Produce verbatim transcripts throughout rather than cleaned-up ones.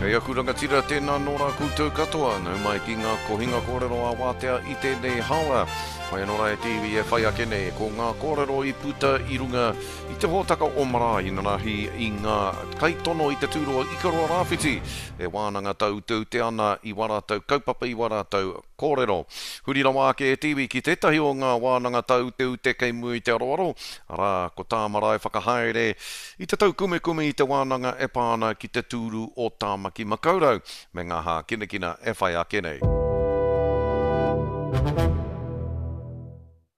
Hei aku rangatira, tēnā nō rā koutou katoa, nau mai ki ngā kohinga kōrero a wātea i tēnei haora. Whai anō rā e te iwi e whai ake nei, ko ngā kōrero i puta i runga i te hōtaka o Marae inanahi i ngā kaitono i te tūroa Ikaroa Rāwhiti e wānanga tāuteute ana i wā rātou kaupapa i wā rātou kōrero. Huri rawa ake e te iwi ki tētahi o ngā wānanga tāuteute kei mua i te aroaro, arā, ko tā Marae whakahaere i te taukumekume i te wānanga e pā ana ki te tūru o Tāmaki Makaurau me ngā hākinakina e whai ake nei.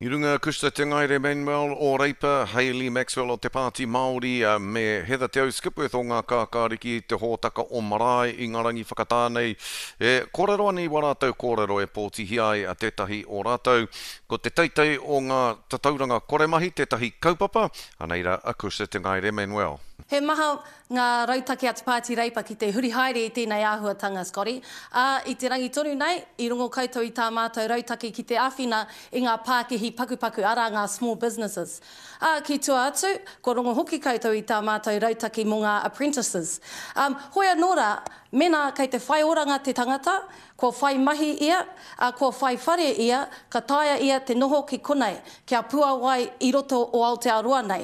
I runga Cushla Te Ngaere Manuel o Reipa, Hayley Maxwell o Te Pāti Māori me Heather Te Au Skipworth o Ngā Kākāriki i te hōtaka o Marae i ngā rangi whakatā nei e kōrero ana i wā rātou kōrero e pōtihia ai a tētahi o rātou. Ko te teitei o ngā tatauranga koremahi tētahi kaupapa, anei rā a Cushla Te Ngaere Manuel. He maha ngā rautaki a Te Pāti Reipa ki te huri haere i tēnei āhuatanga, Scotty. Ā, i te rangi tonu nei, i rongo koutou i tā mātou rautaki ki te āwhina i ngā pākihi pakupaku, arā ngā small businesses. Ā, ki tua atu, kua rongo hoki koutou i tā mātou rautaki mō ngā apprentices. Ā, hoi anō rā, mēnā kei te whai oranga te tangata, kua whai mahi ia, ā, kua whai whare ia, ka taea ia te noho ki konei, kia puāwai i roto o Aotearoa nei.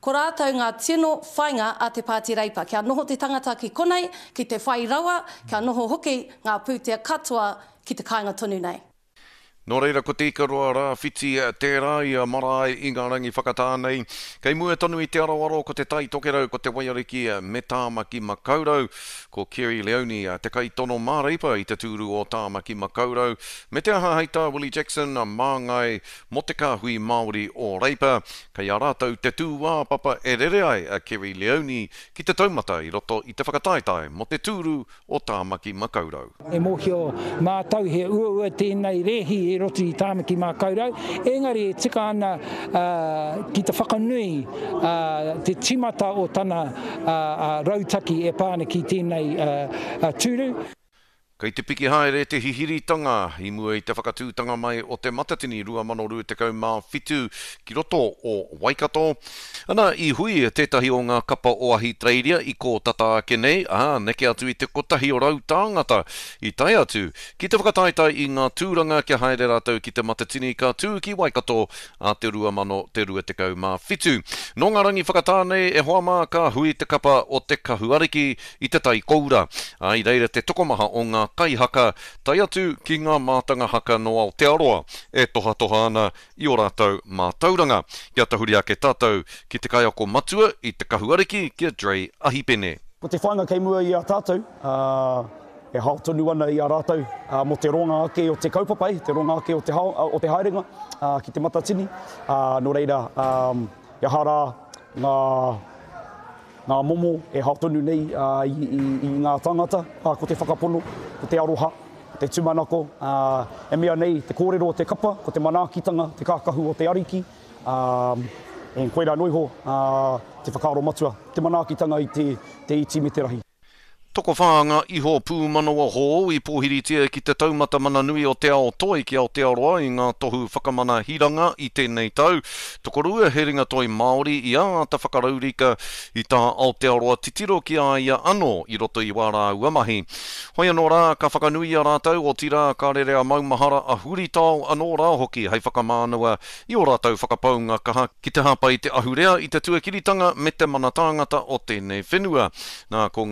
Ko rātou ngā tino whainga a Te Pāti Reipa, kia noho te tangata ki konei, ki te whai rawa, kia noho hoki ngā pūtea katoa ki te kāinga tonu nei. Nō reira ko Te Ikaroa Rāwhiti tērā i a Marae i ngā rangi whakatā nei. Kei mua tonu i te aroaro ko Te Tai Tokerau, ko Te Waiariki me Tāmaki Makaurau. Ko Kerry Leone te kaitono mā Reipa i te tūru o Tāmaki Makaurau. Me te aha hei tā Willie Jackson, māngai mō te kāhui Māori o Reipa. Kei a rātou te tūāpapa e rere ai a Kerry Leone ki te taumata i roto i te whakataetae mō te tūru o Tāmaki Makaurau. E mōhio mātou he uaua tēnei rēhi i roto i Tāmaki Makaurau, engari e tika ana ki te whakanui te tīmata o tana rautaki e pā ana ki tēnei tūru. Kei te piki haere te hihiritanga i mua i te whakatūtanga mai o Te Matatini rua mano rua tekau mā whitu ki roto o Waikato. Ana, i hui tētahi o ngā kapa o Ahitereiria i kō tata ake nei, ā, neke atu i te kotahi o rau tāngata i tae atu ki te whakataetae i ngā tūranga kia haere rātou ki Te Matatini ka tū ki Waikato a te rua mano te rua tekau mā whitu. Nō ngā rangi whakatā nei e hoa mā ka hui te kapa o Te Kahu Ariki i te Tai Koura, ā, i reira te tokomaha o ngā kaihaka, tae atu ki ngā mātanga haka nō Aotearoa e tohatoha ana i ō rātou mātauranga. Kia tahuri ake tātou ki te kaiako matua i Te Kahu Ariki, ki a Dre Ahipene. Ko te whāinga kei mua i a tātou, e hao tonu ana i a rātou mō te ronga ake o te kaupapa, te ronga ake o te, hao, o te haerenga ki Te Matatini. Nō reira, he aha rā ngā Ngā momo e hao tonu nei i ngā tāngata, ko te whakapono, ko te aroha, ko te tūmanako, e mea nei te kōrero o te kapa, ko te manaakitanga, te kākahu o te ariki, ā, koirā noa iho te whakaaro matua, te manaakitanga i te iti me te rahi. Tokowhā ngā iho pūmanawa hou i pōhiritia ki te taumata mana nui o te ao toi ki Aotearoa i ngā tohu whakamana hiranga i tēnei tau. Tokorua he ringatoi Māori i āta whakaraurika i tā Aotearoa titiro ki a ia anō i roto i wā rāua mahi. Hoi anō rā, ka whakanuia rātou, otirā ka rere a maumahara a huritao anō rā hoki hei whakamānawa i ō rātou whakapaunga kaha ki te hāpai i te ahurea, i te tuakiritanga me te mana tāngata o tēnei whenua. Nā, ko ngā